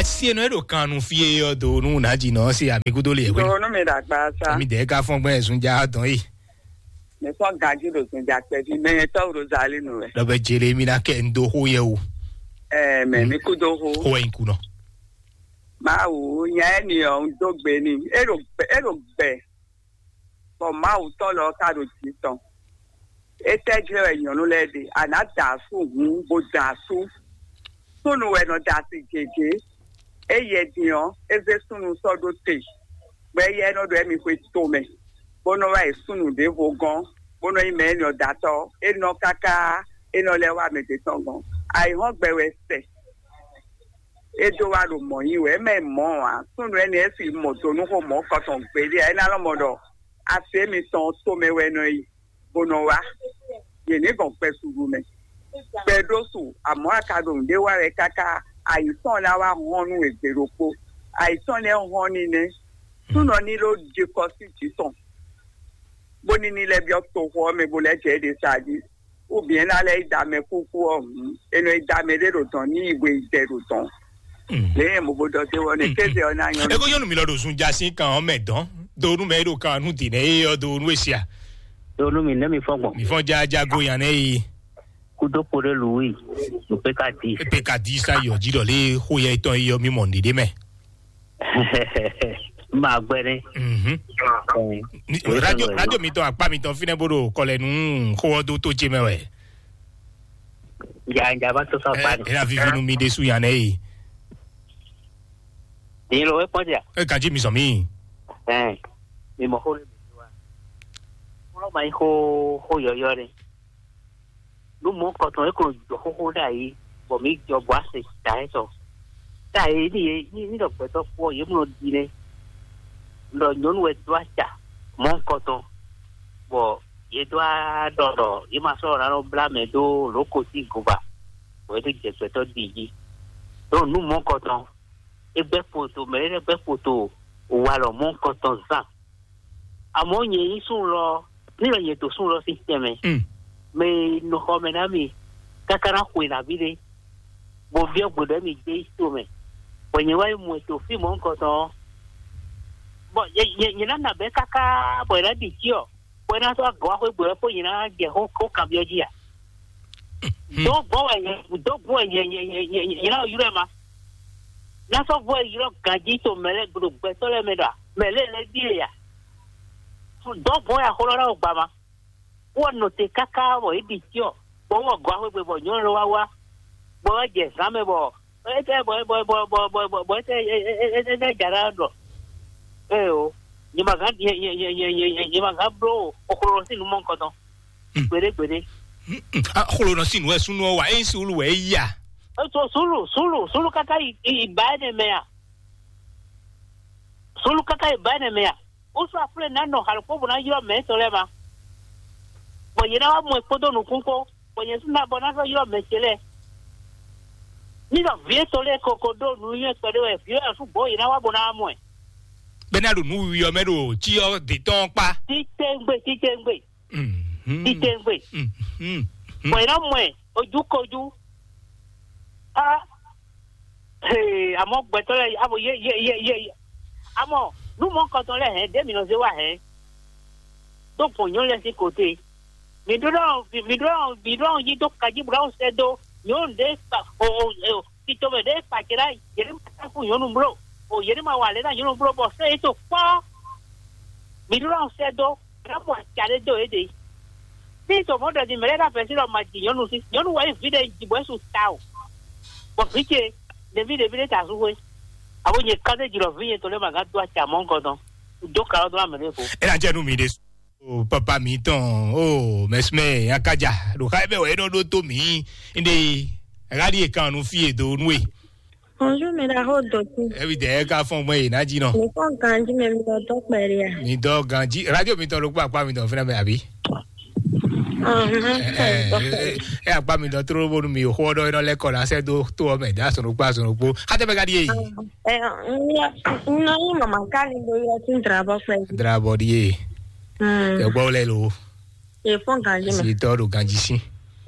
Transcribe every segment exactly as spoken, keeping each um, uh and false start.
Si e nɔ e ɖo kan nu fí e ɔ do nu na dzi nɔ se ami kudo le wɛ. Donu mi ɖagba sa. Ami dɛ ka fɔn gbɛ zun ja dɔn yi. Mi fɔn ganji ɖo zun ja kpɛvi mɛ tɔ Rozali nu wɛ. Dɔ bɛ jele mi na kɛ n do xo yɛ o. Ɛɛ mɛ mi kudo xo. Xo wɛ n kunɔ. Mawu nya ɛ ni ɔ n do gbe ni. E ɖo gbɛ e ɖo gbɛ. Bɔ Mawu tɔn lɔ ka ɖo jǐ tɔn. Étɛ́ jlɛ́ wɛ nyɔ̌nu lɛ́ɛ ɖe? A nǎ da asú hǔn bó da asú. Súnnu wɛ nɔ da asi gěgé. Éyɛ́ din ɔ́, é zé súnnu sɔ́ ɖó te, bɔ éyɛ́ nɔ ɖo ɛ́mi xwe tomɛ, bó nɔ wá yi súnnu ɖěvo gɔ́n, bó nɔ nyí mɛ énɛ́ ɔ́ datɔ́. É nɔ káká, é nɔ lɛ́ wá mɛ ɖě tɔn gɔ́n. Ayǐhɔ́ngbe wɛ sɛ. É dó wá ɖo mɔ̌ nyi wɛ, é mɛ mɔ̌ ǎ. Súnnu énɛ́ é si mɔ do nú xó mɔ̌ kɔtɔn gbeɖé ǎ. É ná lɔ́ mɔ ɖɔ asi émitɔn tomɛ wɛ nɔ yi, bó nɔ wá. Yě ní gɔn gbɛ suɖu mɛ. Gbɛ ɖó su, amɔ̌ a ka ɖo nǔɖé wa wɛ káká ayǐ tɔn ná wá hɔn nú we gbe ɖokpó. Ayǐ tɔn lɛ́ɛ hɔn ní nɛ́. Súnɔ ní ɖó ɖi kɔ sí jǐ tɔn, bó ní ní lɛ́ byɔ́ toxo ɔ́ mɛ bó lɛ́ jɛ é ɖe sa jí. Ou bien ná lɛ́ yi da mɛ kúkú ɔ́ hǔn, è nɔ yi da mɛ ɖé ɖo dɔ̌n ní yi hwe yi dɛ ɖo dɔ̌n. Lě e mo bo ɖɔ dé wɔ ne kéze ɔ́ ná nyɔ́. Eko nyɔnu mi lɔ ɖo zun ja sín kan ɔ́ mɛ dɔn do nu mɛ e ɖo kan nu dǐ nɛ e ɔ do nu e sia. Do nu mi nɛ mi fɔ gbɔn. Mi fɔn ja ja go yan nɛ yi. Kudo kpo ɖe lu wi. Nupeka di. Peka di sa yɔ ji ɖɔ lé xó yɛ tɔn yi yɔ mi mɔ nɖiɖe mɛ. Ma gbɛ ne. Mhm. Ni- Wòye radio sɔnɔ radio yɔ. Mitɔn akpa mitɔn finɛ bo ɖo kɔlɛ nu xó ɔ do tó dze mɛ wɛ. Ja ja va to sɔ akpa ni. Ɛ ɛ vivi nu mi ɖe su yan nɛ yi. Ni lo wɛ kpɔn dia. E kan ji mi sɔn mi. Ɛn, mi mɔ xó ne mi wa. Xó ma yi xó xó yɔyɔ ne. Nú mɔ̌ kɔtɔn é ko jɔ xóxó ɖ'ayǐ, bɔ mǐ jɔ bɔ ase da ɛ tɔ. Ɖ'ayǐ ní yě ní ní ɖɔ gbɛtɔ́ kpó ɔ́, yě mɔ ɖi nɛ́. Ɖɔ nyɔ̌nu wɛ dó aca mɔ̌ kɔtɔn, bɔ yě dó aɖɔ ɖɔ yě ma sɔ́ ná nɔ blá mɛ dó lǒ ko sín goba, bɔ é dó jɛ gbɛtɔ́ ɖi jí. Ɖo nǔ mɔ̌ kɔtɔn, é gbɛ́ kpoto, mɛ ɖé lɛ́ɛ gbɛ́ kpoto walɔ mɔ̌ kɔtɔn zán. Amɔ̌ nyɛ nyí súnnu lɔ, ní lɔ nyɛ to súnnu lɔ sín tɛnmɛ, mɛ e nɔ xɔ mɛ ná mi káká ná xwe nǎví ɖé, bɔ byɔ́ gbe ɖɔ mi dé yi to mɛ, bɔ nyɛ wá yi mɔ ɛ to fí mɔ̌hunkɔtɔn ɔ́, bɔ nyɛ nyɛ nyɛ ná nabɛ́ káká bɔ è nǎ ɖi cyɔ, bɔ é ná sɔ́ agɔ̌ wá xwé gbe ɔ́ kpó nyɛ ná jɛ xó xó kanbyɔ́ jí a? Dɔ̌n gbɔn wɛ nyɛ dɔ̌n gbɔn wɛ nyɛ nyɛ nyɛ nyɛ nyɛ nyɛ ná ylɔ́ ɛ ma. Ná sɔ́ vɔ ylɔ́ ganjí to mɛ lɛ́ɛ gbló gbɛtɔ́ lɛ́ɛ mɛ ɖɔ mɛ lɛ́ɛ lɛ́ɛ ɖíe ya. Dɔ̌n gbɔn wɛ axɔlɔ́ ná wɔ gba ma. Wɔ nɔ te káká bɔ é ɖi cyɔ, bɔ wɔ gɔ́ axwé gbe bɔ nyɔ̌nu lɔ wá wá, bɔ wá jɛ zǎn mɛ bɔ étɛ́ bɔ bɔ bɔ bɔ bɔ bɔ bɔ étɛ́ étɛ́ ja ná ɖɔ. Ee o, nyɛ ma gán nyɛ nyɛ nyɛ nyɛ nyɛ nyɛ ma gán bló oxlolo sín nú mɔ nukɔn tɔn. Gbeɖé gbeɖé. Xlonɔ sín nǔ wɛ súnnu ɔ́ wa, ényí súnnu wɛ é ya. Ètò sùúrù sùúrù sùúrù káká ìbá ẹni mẹ à? Sùúrù káká ìbá ẹni mẹ à? Ó sọ àpúlẹ̀ náà nọ àlùkò bò náà yọ mẹ́ tɔ lẹ́ ma. Bọ̀ yẹn náà wá mú ẹ kpódó nukún kpó, bọ̀ yẹn sún náà bọ̀ náà sọ yọ mẹ́ ce lẹ́. Nígbà vǐ ètò lẹ́ koko ɖó nǔnywɛ́ kpɛɖé wɛ vǐ ɔ́ sún gbɔ̌ yẹn náà wá bò náà mú ɛ. Bɛ́ ná ɖo nǔ wiwi ɔ́ mɛ ɖo cyɔ dǐtɔ́ ɔ́ kpá. Títɛngbé títɛngbé. Mhm. Títɛngbé. Mhm. Bɔ yẹn náà mú ẹ ojú kojú. Ah. Hey, àmọ́ gbẹ̀tọ́ lɛ abo yé yé yé yé yé. Àmọ́ nú mɔ kɔtɔn lɛ hɛn dé mi nɔ zé wa hɛn. Tó gbɔn nyɔnu lɛ sín kote. Mi ɖó ɖɔ mi ɖó ɖɔ mi ɖó ɖɔ yí dó kají bla ó sɛ dó nyɔnu ɖé kpa o o o tito mɛ ɖé kpa jɛ la yé ma ta fún nyɔnu blo o yé ma wa lɛ na nyɔnu blo bɔ sɛ yé to kpɔ. Mi ɖó ɖɔ sɛ dó ká mɔ aca ɖé dó yé ɖe. Ní tòmɔ̌ ɖɔ din mɛ lɛ́ɛ ná vɛ̌ sín ɖɔ ma ji nyɔ̌nu sí. Nyɔ̌nu wɛ nyí vǐ ɖé ji bɔ é su ta o. Bɔ vǐ ce ɖeví ɖeví ɖé ta sú xwé. Abo nyɛ ká ɖé ji ɖɔ vǐ nyɛ tɔn lɛ́ɛ ma gán dó acɛ amɔ̌ gɔ́ dɔn. Dó ka ɔ́ dó ná mɛ ɖěvo. É ná jɛ nú mi ɖé. O papa mi tɔn o mɛsumɛ akaja ɖo xa ebe wɛ é nɔ ɖó tó mi. Inde ɣali e kan nu fí e do nú e. Bonjour, mɛɖaxó dɔtí. Ebi dɛ ká fɔn gbɛn yìí ná jí nɔ. Mi fɔn ganji mɛ mi dɔ dɔ kpɛɖe a? Mi dɔ ganji radio mi tɔ ló kpó akpá mi tɔ fúnra mi àbí? Ahun. Ɛ ɛ ɛ akpá mi tɔ tró bónú mi xó ɔdɔ iná lɛkọ la sɛ dó tó ɔmɛ dá sɔnù kpá sɔnù kpó. Xatɛ bɛ ka di yé yi. Ɛ n yɔ n nɔ yí mama ká ni do yɔ tún drabɔ kpɛ. Drabɔ di yé. Ɛ gbɔ lɛ lo. E fɔn ganji mɛ. Si tɔ do ganji si.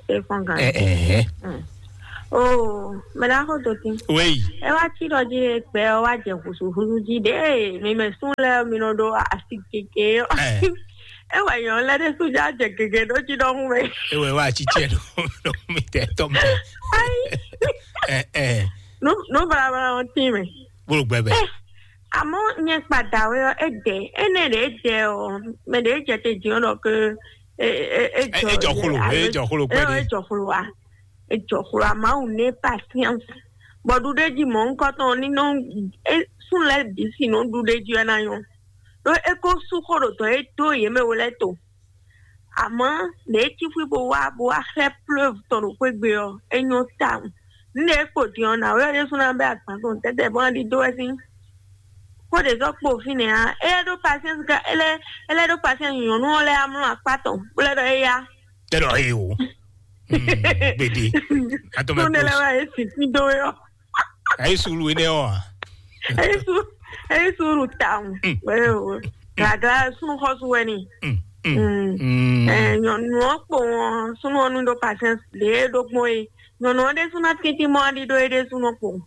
E fɔn ganji. Ɛ ɛ ɛ. Oh, mɛ ɖaxó Dotin. Oui. Ɛ wá cí ɖɔ jí ɖe gbɛ ɔ wá jɛ húzúhúzú jí ɖe mi mɛ sún lɛ mi nɔ ɖo asi kéke ɔ. Ɛ. Ɛ wɛ nyɔ lɛ ɖe sún já jɛ gege ɖó jí ɖɔhún mɛ. Ewɛ wá tsitsɛ ɖo ɖo mi tɛ tɔ mɛ. Ayi. Ɛ ɛ. Nu nu balabala ɔ tí mɛ. Bolo gbɛbɛ. Ɛ, àmọ́ nyɛ kpadà wɛ ɔ, é dɛ, énɛ́ ɖě é dɛ ɔ, mɛ ɖě é jɛ te jǐ ɔ ɖɔ ke é é é Ɛ jɔ ejɔ xlo, alo ejɔ xlo ɛ kpɛɖé. Ejɔ xlo wa. Ejɔ xlo wa, Mawu ní patience. Bɔ ɖuɖéji mɔ̌hunkɔtɔn ní nɔ é sún lɛ́ɛ bǐ si nɔ ɖuɖéji wɛ ná nyɔ. Ɖó é ko sú xó ɖo dɔ̌ e dó yě mɛ we lɛ́ɛ to. Àmọ́ lě e cí xwí bó wá bó wá xlɛ́ plɔ́v tɔn ɖo xwé gbe ɔ́, é nyɔ́ tawun. Nǔ ɖě e kpo din ɔ́, nǎwe ɔ́ ɖésú ná bɛ́ agban tɔn tɛ́tɛ́ bó ná ɖidó wɛ sín. Xó ɖě zɔ́ kpo fínɛ́ ǎ, é lɛ́ ɖó pasiɛ́nsi ká é lɛ́ é lɛ́ ɖó pasiɛ́nsi nyɔ̌nu ɔ́ lɛ́ɛ amlɔ akpá tɔn bó lɛ́ ɖɔ éyá. Tɛ ɖɔ eye o. Hmm, gbede. Atɔmɛ Tó ne lɛ́ kpo. Wá yé sì fín dó é ɔ́. Ayi sulu ene ɔ. Eyi su eyi su ɖu tawun. Mm. Wee o. Gaga sunu xɔsu wɛ ni. Mm, mm, Mm. Mm. Eh, nyɔnu ɔ kpo wọn sunu ɔnu ɖo patience ɖe ɖo gbɔn ye. Nyɔnu ɔ ɖe sunu atiti mɔ aɖi ɖo eɖe sunu kpo.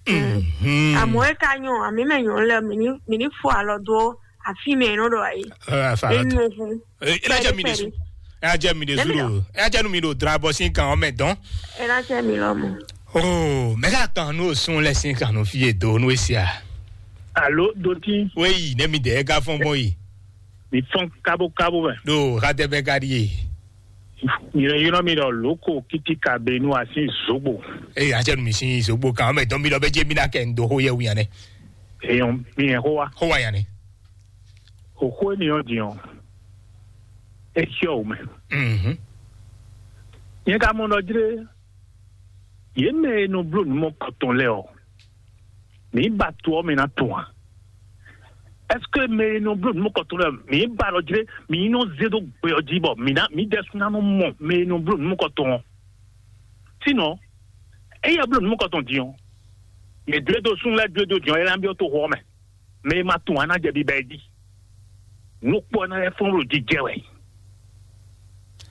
Mm. Àmọ́ é ka nyɔ àmì mɛ nyɔnu lɛ mi ní mi ní fɔ alɔ dó àfi mɛ nɔ ɖo ayi. Ɛ afa. Enu fún. Ɛ ɛ jẹ mi de su. Ɛ jẹ mi de su Emi ɖo. Ɛ jẹ nu mi ɖo drabɔ sin kan ɔmɛ dɔn. Ɛ na jẹ mi lɔ mɔ. Oh, mɛ ka kan nu sun lɛ sin kan nu fi e do nu esia. Alo doti. Weyi ne mi de ka fɔn bɔ yi. Mi fɔn kabo kabo mɛ. Do ha de bɛ ka di ye. Yìnyɔn mi ɖɔ loko kiti ka be nu asi zogbo. Eye a jẹ nu mi sin zogbo kan ɔmɛ dɔn mi lɔ bɛ jẹ mi na kɛ n do ho yɛ wuyan nɛ. Eyɔn mi yẹn ho wa. Ho wa yan nɛ. Oxó énìyàn din ɔ́, é xyɔ́ wǔ mɛ. Mhm. Nyɛ ka mɔ ɖɔ jlé, yě mɛ e nɔ bló nǔ mɔkɔtɔn lɛ́ɛ ɔ́, mǐ ba to ɔ́ mɛ ná tɔn a? Ɛseke mɛ e nɔ bló nǔ mɔkɔtɔn lɛ́ɛ ɔ́, mǐ ba ɖɔ jlé, mǐ nɔ zé dó gbe ɔ́ jí bɔ mǐ ná mǐ ɖɛsú ná nɔ mɔ mɛ e nɔ bló nǔ mɔkɔtɔn ɔ́? Sinɔ, éyɛ́ bló nǔ mɔkɔtɔn din ɔ́, yě dó e dó súnnu lɛ́ɛ dó e dó din ɔ́, é ná byɔ́ toxo ɔ́ mɛ. Mɛ e ma tunwun ná jɛ biba ɛ jí. Nukpɔ́ ná lɛ́ fɔ́n ɖo jijɛ wɛ.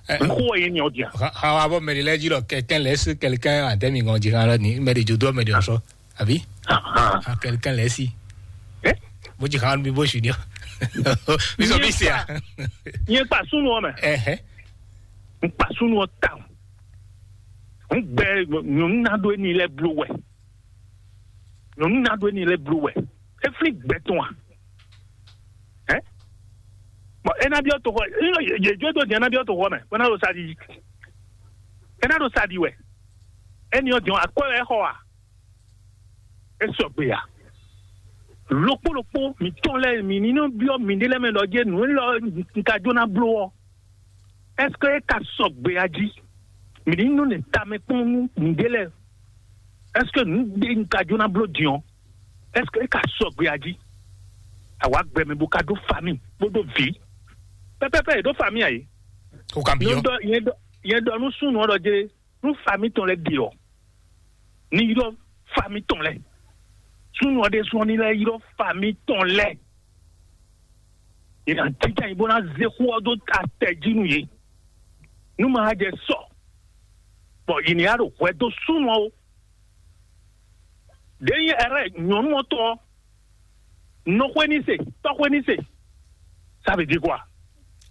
Ɛ, Nxó wɛ yé nyɛ ɔ́ dia. Xa xa wa bɔ mɛ ɖé lɛ́ɛ jí ɖɔ quelqu'un laisse quelqu'un à demi ngɔn jí xan lɔ ni mɛ ɖé dzo dó mɛ ɖé ɔsɔ àbí? Ah, quelqu'un laisse. Ɛ? Bó jí xan mi bó su ni ɔ. Mi sɔ mi se a. Nyɛ kpa súnnu ɔ́ mɛ. Ɛhɛ. N kpa súnnu ɔ́ tawun. N gbɛ nyɔ̌nu ná ɖó éní lɛ́ɛ bló wɛ. Nyɔ̌nu ná ɖó éní lɛ́ɛ bló wɛ. É flín gbɛ tɔn a? Ɛ? Bɔn é ná byɔ́ toxɔ, yě jó dó din é ná byɔ́ toxɔ mɛ, bó ná ɖo sa ɖi. É ná ɖo sa ɖi wɛ. Éní ɔ́ din ɔ́, akwɛ́ wɛ é xɔ a? É sɔgbe a? Lokpó lokpó mǐtɔn lɛ́ɛ mǐ ní nɔ byɔ́ mǐɖé lɛ́ɛ mɛ ɖɔ jɛ́n nǔ élɔ́ un ka jó ná bló ɔ́, ɛ́seke é ka sɔgbe a jí? Mǐ ní nɔ nɛ tamɛ kpɔ́n nú mǐɖé lɛ́ɛ. Ɛ́seke nǔ ɖé un ka jó ná bló din ɔ́, ɛ́seke é ka sɔgbe a jí? Àwa gbɛmɛ bó ka ɖó famille bó ɖó vǐ. Pɛpɛpɛ yě ɖó famille a yě? O kan Nyɛ byɔ́. Ɖɔ nyɛ ɖɔ nyɛ ɖɔ nú súnnu ɔ́ ɖɔ jɛ́n nú famille tɔn lɛ́ɛ ɖe ɔ́, ní ylɔ́ famille tɔn lɛ́ɛ. Súnnu ɔ́ ɖésú ɔ́ ní lɛ́ ylɔ́ famille tɔn lɛ́ɛ. Yě ná jínjɔ́n ayǐ bó ná zé xó ɔ́ dó atɛ jí nú yě. Nú ma jɛ sɔ, bɔ yě ní wá ɖo hwɛ dó súnnu ɔ́ ó. Ɖě nyí ɛrɛ nyɔ̌nu ɔ́ tɔn ɔ́, nɔxwé ní se, tɔ́xwé ní se. Ça veut dire quoi?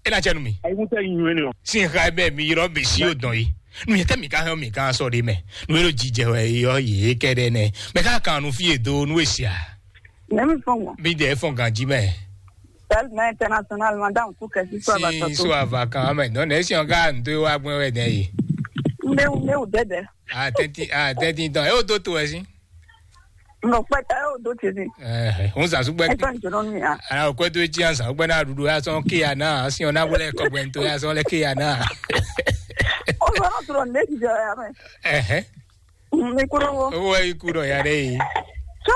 É ná cɛ nú mi. Ayíkúntɛ nyi nywɛ́ nɛ ɔ. Sin xa bɛ mi yrɔ mi si o dɔn yi. Nu yɛ tɛ mi ka hɛn mi ka sɔ de mɛ. Nu yɛ ɖo jijɛ wɛ yɔ yě kɛ ɖɛ nɛ. Mɛ ka kan nu fi e do nu e sia. Nɛ mi fɔn mɔ. Mi dɛ fɔn ganji mɛ. Sɛl mɛ international madame ku kɛ si so ava Sin tɔ so to. Ava kan mɛ. Dɔn ne si ɔn ka n do wa gbɛ wɛ dɛ yi. N bɛ n bɛ o dɛdɛ. A tɛnti a tɛnti dɔn. E o do to wɛ si. Nɔ kpɛtɛ o do tezi. Ɛɛ, n sa sugbɛ. Ɛsɛ n jɔrɔ mi a. Ala o kɔɛ to etsi ansa o gbɛ na ɖuɖu ya sɔn ke ya na asi ɔn na wele kɔgbɛ to ya sɔn lɛ ke ya na. O sɔrɔ sɔrɔ ne ti jɔ ya mɛ. Ɛhɛ. Mi kúrò wo. Owó ẹ ikú dọ̀ ya dɛ yìí. Tó.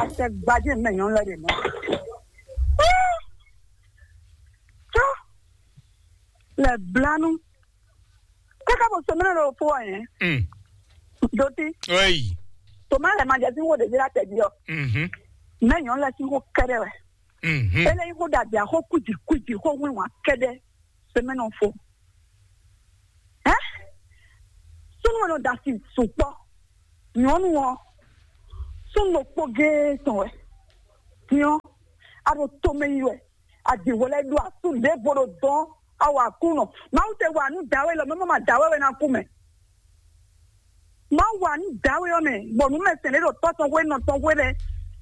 Àṣẹ gbajẹ mẹ yàn lọ dẹ mọ. Tó. Lẹ blanu. Kaka bɔ sɛmɛnɛ dɔ fo wa yẹn. Mm. Doti. Oyi. Toma lɛ ma jɛ si wo ɖevi la tɛ di ɔ. Mhm. Mɛ nyɔ lɛ si wo kɛɖɛ wɛ. Mhm. Ele yi ko dàbí àxó kùjì kùjì xó wíwá kɛɖɛ. Sɛmɛnɛ fo. Ɛ. Kpɔ́nɔ da asi sukpɔ́. Nyɔ̌nu ɔ́, súnnu ɖokpó géé tɔn wɛ. Din ɔ́, a ɖo tomɛ yi wɛ. A ɖi hwɛ lɛ́ɛ ɖó asú ɖěvo ɖo dɔn. A wa Aklúnɔ. Mawu te wa nǔ dǎwe lɔ, mɛ ma dǎwe wɛ ná kú mɛ. Mawu wa nǔ dǎwe ɔ́ mɛ, bɔ nǔ mɛ sɛn ɖé ɖo tɔ́ tɔn hwe nɔ tɔn hwe lɛ́ɛ.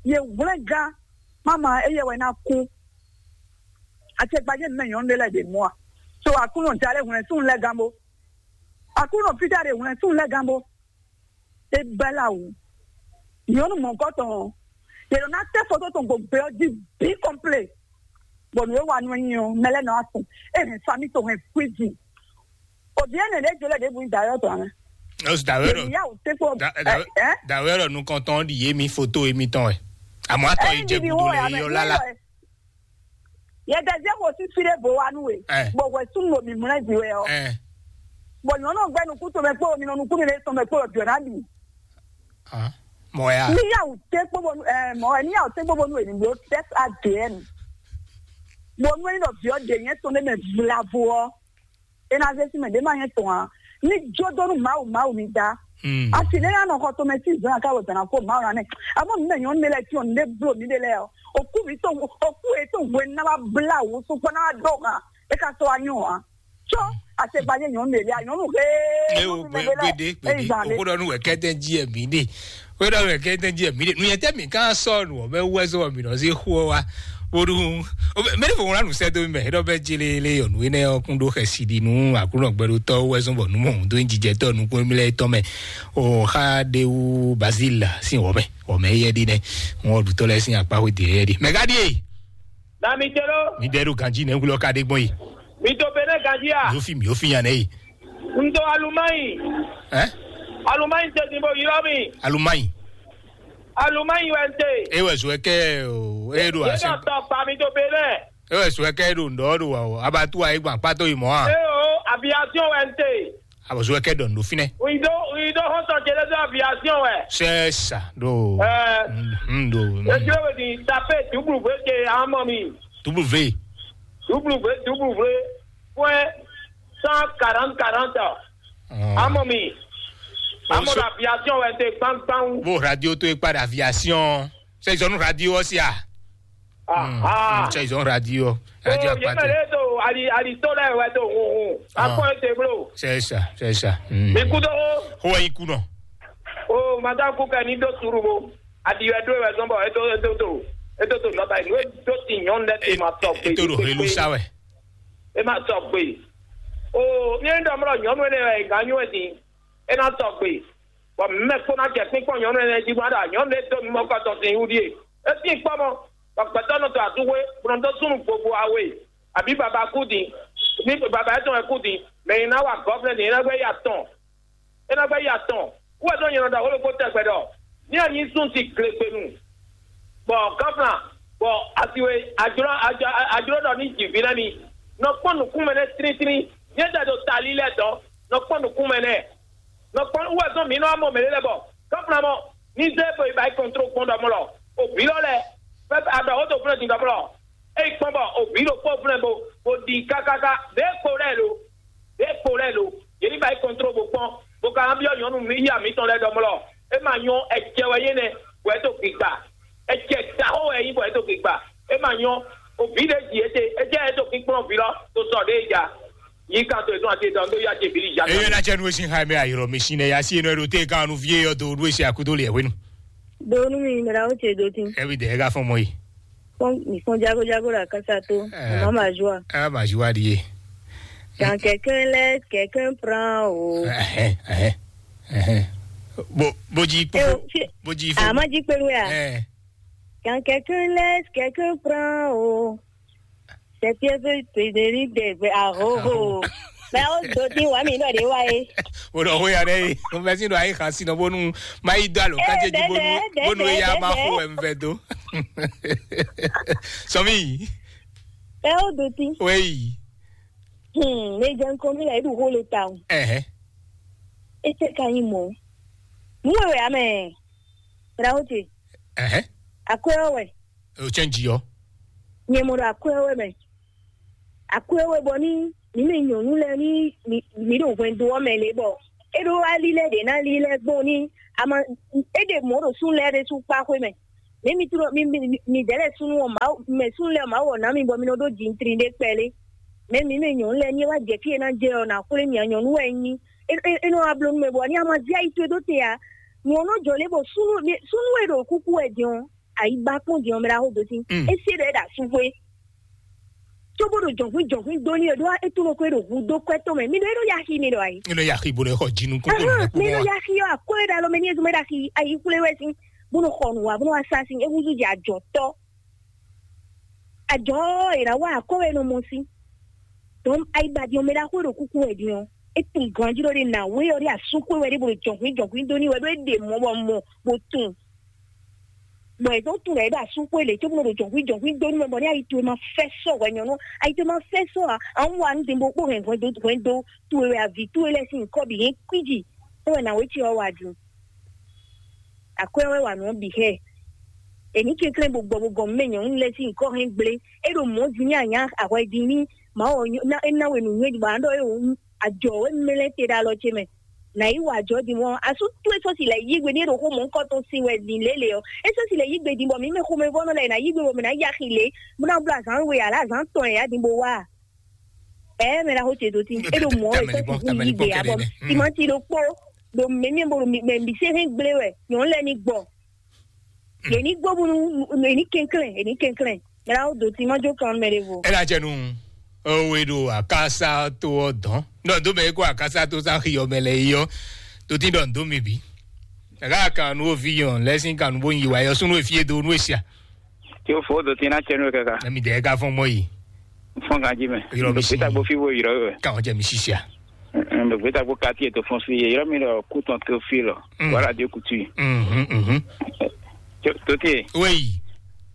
Ye hwlɛ́ngán, mama éyɛ́ wɛ ná kú. Acɛkpajɛ nǔ mɛ nyɔ̌nu ɖé lɛ́ɛ ɖe mɔ a? So Aklúnɔ da lɛ́ɛ hwlɛ̌n súnnu lɛ́ɛ gán bó. Aklúnɔ fídá ɖe hwlɛ̌n súnnu lɛ́ɛ gán bó. É bɛ́ lá wǔ. Nyɔ̌nu mɔ̌hunkɔtɔn ɔ́, yě nɔ ná tɛ́ foto tɔn gbogbe ɔ́ jí bǐ kɔnplé. Bɔ nǔ e wa nú ɛ nyi ɔ́, mɛ lɛ́ɛ nɔ wá tunwun. É hɛn famí tɔn hɛn kwíji. Òbí ɛnɛ ɖě jolɛ ɖěbǔ nyí dayɔ́ tɔn ǎ. Ó sì dǎwé ɖɔ Èmi yá wò tɛ́ kpó. Dá- dá- ɛ ɛ. Dǎwé ɖɔ nukɔntɔn ɖi yé mi foto émi tɔn wɛ. Àmọ́ atɔ Ɛ yìí jẹ ɛ gudo lɛ yɔ lálá. Yɛ dɛzɛ ko sísí ɖé bó wa nú we. Ɛ. Bɔ hwɛ súnnu ɖo mǐmlɛ́ jí wɛ ɔ́. Ɛ. Bɔ nyɔ̌nu gbɛ nukún tɔn mɛ kpó mi nɔ nukún mi lé tɔn mɛ kpó jɔ ná bì. Hàn. Mɔ ya. Ní yàwó tẹ́ kpó bónú ɛ mɔ ɛ ní yàwó tẹ́ kpó bónú èmi ló test A D N. Bónú ẹni lọ bí ọ dè yẹn tɔn ɖé mɛ vlavo ɔ. Ena zé sí mɛ ɖé má yẹn tɔn a. Ní jódónú màwù màwù mi dá. Hmm. Asi ɖé yà nɔ xɔ tɔn mɛ sí zɔn aká wò tàn kó màwù rán nɛ. Àmọ́ mi mɛ nyɔ̌nu mi lɛ tí ò ní bló mi ɖé lɛ ɔ. Òkú mi tó òkú yẹn tó hwe ná wá blá wò sún kpɔ́n ná wá dó hàn. É ká sɔ wá nyɔ hàn. Tsɔ àṣegbanyé nyɔ̌nu lè lé a nyɔ̌nu hé. Eye o gbede gbede, o ko ɖɔ nu wɛ kɛtɛ ji ɛ mi de, o ɖɔ wɛ kɛtɛ ji ɛ mi de nu yɛ tɛ mi kan sɔ nu ɔbɛ wɛ sɔ mi nɔ se xo wa. Woɖu mɛni fo ŋlɔ nu sɛ do mi mɛ ɖɔ bɛ jele le yɔ nu enɛ ɔkun ɖo xɛsi ɖi nu aklunɔ gbɛɖotɔ wɛ sɔ bɔ nu mɔ do jijɛtɔ nukun mi lɛ tɔ mɛ. O xa de wu Bazil sin wɔmɛ wɔmɛ yɛ ɖi nɛ ŋɔ ɖutɔ lɛ sin akpa xo de yɛ ɖi mɛ ka ɖi ye. Na mi telo. Mi ɖe ɖo ganji nɛ wulɔ ka ɖe gbɔn yi. Mi to Benin ganji a? Mi ò fi mi ò fi yan nɛ yi. N to Alumayi. Ɛ? Alumayi te din bo ylɔ mi. Alumayi. Alumayi wɛ n te. E wɛ zɔ kɛ o e ɖo Ye asi. Dɔ tɔ kpa mi to Benin. E wɛ zɔ kɛ ɖo ŋdɔ ɖo wa o abatu ayi gban kpato yi mɔ a. E o aviation wɛ n te. Abɔ zɔ kɛ ɖɔ ŋdo finɛ. We do we do hɔn sɔ jele do aviation wɛ. C'est ça do. Ɛ. Mm, do. Mm. Ejò wɛ di tape dublu vwe ke amɔ mi. Dublu vwe. Dublu vwe dublu vwe. Point cent quarante quarante. Amɔ mi. Amɔ la aviation wɛ te gbangban. Bo radio to ekpa da aviation. C'est zone radio aussi ah. Ah. C'est zone radio. Radio. Oh, yemɛ akpate. Le to ali ali to lɛ wɛ to hun hun. Ah. Akɔ ete blo. C'est ça, c'est ça. Mm. Mi kudo. Ho yi kunɔ. Oh, madame kuka ni do suru bo. Adi wɛ do wɛ zɔn bɔ eto eto to eto to nɔta yi. Nue do ti nyɔnu lɛ te ma tɔ gbe. Eto do helu sa wɛ. E ma tɔ gbe. Oh, mi en dɔmlɔ nyɔnu ne wɛ ganyu wɛ din. E na tɔ gbe. Bɔ mɛ kpó ná jɛ kpínkpɔ́n nyɔ̌nu ɛnɛ jí bó ná ɖo nyɔ̌nu ɖé dó mi mɔ kɔ tɔn sin wú ɖíe. É tín kpɔ́ mɔ, bɔ gbɛtɔ́ nɔ tɔ asúxwé, bó nɔ dó súnnu vovo awe, abǐ baba kú din, ní baba étɔn wɛ kú din, mɛ nyi ná wa gɔ́vnɛ din, é ná gbɛ́ yi atɔn. É ná gbɛ́ yi atɔn. Kú wɛ dó nyɛ nɔ ɖɔ xó ɖokpó tɛgbɛ ɖɔ, ní a nyí sún ti glegbenu, bɔ gɔ́vnà, bɔ asiwe, ajló, ajló ɖɔ ní jǐ ví ná mi. Nɔ kpɔ́n nǔkún mɛ nɛ́ tlítlí, nyɛ tɛ ɖo tali lɛ́ɛ dɔn, nɔ kpɔ́n nǔkún mɛ nɛ́. Nɔ kpɔ́n wɛ zɔn mǐ nɔ amɔ mɛ lɛ bɔ kɔ́fúnamɔ ní zé bo yi ba yi kɔntro gbɔn ɖɔmɔ lɔ o vǐ lɔ lɛ fɛ adɔ wo to fúnɛ din ɖɔmɔ lɔ. Eyi kpɔn bɔ o vǐ ɖokpó fúnɛ bo bo ɖi kákáká ɖě kpo lɛ lo ɖě kpo lɛ lo yě ní ba yi kɔntro bo kpɔn bo ka byɔ nyɔnu mi yí amǐtɔn lɛ ɖɔmɔ lɔ. E ma nyɔ ɛjɛ wɛ yé nɛ wɛ to gbigba ɛjɛ daxó wɛ yí bɔ yɛ to gbigba. E ma nyɔ o vǐ ɖe ji ete e jɛ yɛ to kíkplɔ́n vǐ lɔ to sɔ ɖe ja. Yi kan to etɔn ati etɔn do ya ce bili ja. Eye na cɛ nu esi ha mi ayɔrɔ mi si ne ya si enɔ ɖo te kan nu vie yɔ do ɖo esi akudo le ɛwenu. Donu mi mra o ce do tin. Ɛbi de ɛga fɔn mɔ yi. Fɔn mi fɔn jago jago la kasa to. Eh, mama joa. Ɛga ma joa di ye. Quand quelqu'un laisse, quelqu'un prend o. Ɛhɛn, ɛhɛn, ɛhɛn. Bo bo ji kpo. Eh, o, si- Bo ji fo. Ama ji pelu ya. Eh. Quand quelqu'un laisse, quelqu'un prend o. C'est Pierre Frédéric de ahoho. Mais on doit dire ouais mais il doit dire ouais. Wòɖɔ xó ya ɖe yi, mɛsi ɖo ayi xa sinɔ bónú má yi dó alo kátse jí bónú bónú eya má xó wɛ nvɛ dó. Sɔmi. Ɛ o doti. Wéyi. Hmm, mais j'ai un connu là, il roule le temps. Ɛhɛ. Et c'est quand il mɔ. Mu wɛ wɛ amɛ. Raote. Ɛhɛ. Akwɛ wɛ. O cɛn ji yɔ. Nyɛ mɔ ɖo akwɛ wɛ mɛ. Akwɛ wɛ bɔ ni ni mi nyɔnu lɛ ni mi mi ɖo hwɛndo ɔ mɛ le bɔ É ɖó alilɛ ɖě ná lílɛ gbɔn ní ama é ɖe mɔ̌ ɖo súnnu lɛ́ɛ ɖésú kpá xwé mɛ. Mɛ mi tló mi mi mi dɛ̌ lɛ́ɛ súnnu ɔ́ Mawu mɛ súnnu lɛ́ɛ ɔ́ Mawu ɔ́ ná mi bɔ mi nɔ ɖó jintrin ɖé kpɛlé. Mɛ mi mɛ nyɔ̌nu lɛ́ɛ ní é wá jɛ fí e ná jɛ ɔ́ ná xwlé mì a nyɔ̌nu wɛ é nyí. É é é nɔ wá bló nú mɛ bɔ ní ama zé ayi towe dó te ǎ. Nyɔ̌nu jɔ lé bɔ súnnu súnnu e ɖo kúkú wɛ din ɔ́, ayi ba kpɔ́n din ɔ́ mɛ ɖaxó dó sí. Mm. É sé ɖɔ é ɖo asúxwé. Cóbó ɖo jɔ̌nhwín jɔ̌nhwín dó ní e ɖó é tunɔ ko é ɖo hu dó kwɛ́ tɔn mɛ. Mi ɖɔ é ɖo yaxi mi ɖɔ ayi. Nínú yaxi bó lè xɔ jinu kókó Ahán, nínú mi ɖɔ kpɔ́n wa. Yaxi ɔ́ akó é ɖo alɔ mɛ ní ezun mɛ ɖo axi ayi xwlé wɛ sín. Bó nɔ xɔ nǔ wa bó nɔ wá sá sín é húzú jɛ ajɔ̌tɔ́. Ajɔ̌ è nǎ wa akó wɛ nɔ mɔ sín. Dɔn ayi ba din ɔ́ mɛ ɖaxó e ɖo kúkú wɛ din ɔ́. É tunwun ganjí ɖɔ ɖe nǎ wé ɔ́ ɖe asúxwé wɛ ɖé bó ɖo jɔ̌nhwín jɔ̌nhwín dó ní wɛ ɖó é ɖe mɔ̌ bɔ mɔ bó tunwun. Bɔ è dó tunwun ɖɔ é ɖo asúxwé lě cóbó nɔ ɖo jɔ̌nhwín jɔ̌nhwín dó nú mɛ bɔ ní ayi towe ma fɛ́ sɔ́ hwɛ nyɔ̌nu ayi towe ma fɛ́ sɔ́ ǎ. Ahún wa nú din bó kpó hɛn hwɛndo hwɛndo towe wɛ avi towe lɛ́ɛ sín nyǐkɔ bǐ hɛn kwíji. É wɛ nǎ wé ce ɔ́ wa din. Akwɛ́ wɛ wa nǔ ɔ́ bǐ xɛ. È ní kɛnklɛ́n bó gbɔ bó gɔn mɛ nyɔ̌nu lɛ́ɛ sín nyǐkɔ hɛn gblé. É ɖo mɔ̌ din ní anyá ahwɛ din ní Mawu ɔ́ é ná we nǔnywɛ́ bɔ a nǎ ɖɔ é wǒ ajɔ̌ wɛ mlɛ́ te ɖo alɔ ce mɛ. Nǎ yi wa ajɔ̌ din mɔ̌ asú towe sɔ́ si lɛ̌ yí gbe ní é ɖo xó mɔ̌hunkɔtɔn sin wɛ din lě lě ɔ́. É sɔ́ si lɛ̌ yí gbe din bɔ mǐ mɛ xomɛvɔ́nɔ lɛ́ɛ è nǎ yí gbe bɔ mǐ ná yi axi lě bó ná bló azǎn we ǎ lě azǎn tɔn e ǎ din bó wá a. Ɛ̌ mɛ ɖaxó ce dó tin é ɖo mɔ̌ wɛ sɔ́ si yí gbe ǎ bɔ timati ɖokpó ɖo mɛ̌myɛ bó ɖo mɛ bǐ sɛ́n hɛn gblé wɛ nyɔ̌nu lɛ́ɛ ní gbɔ. Yě ní gbɔ bónú yě ní kɛnklɛ́n yě ní kɛnklɛ́n. Mɛ ɖaxó dó tin má jó kan mɛ ɖěvo. É ná jɛ nú owe ɖo akásá tó ɔ́ dɔn. Nɔ dó mɛ kó akásá tó sá xi ɔmɛ lɛ yi ɔ́. Tó tin ɖɔ nǔ dó mi bǐ. Gǎgá kan nú oví yɔn lɛ́ sín kan nú bó nyi wa yɔ súnú efí e do nú esia. Tí ó fó dó tin ná cɛ nú kaka. Ɛmi dɛ ka fɔn mɔ yi. Fɔn kan jí mɛ. Yrɔ mi si. Gbéta gbó fí wo yrɔ wɛ. Kan jɛ mi sisia. Gbéta gbó kati e to fɔn fí ye yrɔ mi lɔ kú tɔn tó fí lɔ. Wala dé kutu yi. Mhm mhm. Tó tó tiye. Wéyi.